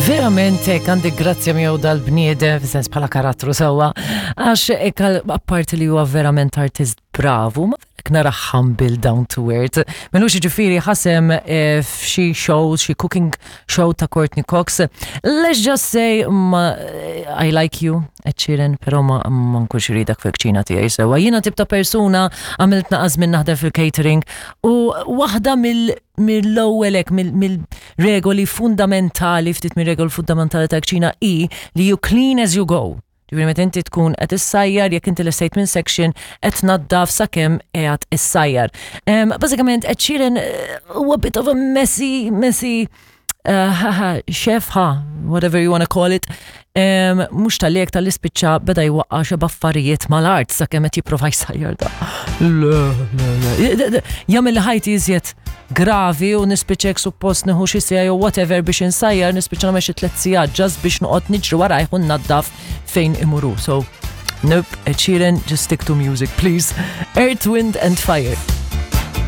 Verament hekk għandek grazzja miegħu dal-bniedem, fis-sens bħala karattru sewwa, għax hekk apparti li huwa verament artist bravu, ma verek nara humble down to earth. Minux ġifieri ħasem eh, f'xi show, xi cooking show ta' Courtney Cox. Let's just say ma, eh, I like you, Ed Sheeran, pero ma, ma nkunx ridak fil-kċina tiegħi sewwa. Jiena tip ta' persuna għamilt naqas minn naħdem fil-catering u waħda mill mill-ewwel hekk mill-regoli fundamentali, ftit mir-regoli fundamentali tal-kċina hi li you clean as you go. Ġifieri meta inti tkun qed issajjar, jekk inti lestejt minn section qed tnaddaf sakemm qiegħed issajjar. Bażikament Ed Sheeran eh, huwa bit of a messy, messy uh, chef, ha, whatever you wanna call it, mhux tal-li tal-ispiċċa beda jwaqqa xi baffarijiet mal-art sakemm qed jipprova jsajjar da. Le, le, le. Jagħmel li ħajti iżjed gravi u nispiċċek suppost nieħu xi siegħa jew whatever biex insajjar nispiċċa nagħmel xi tliet sigħat ġast biex noqgħod niġri warajh u nnaddaf fejn imuru. So, nope, Ed Sheeran, just stick to music, please. Earth, Wind and Fire.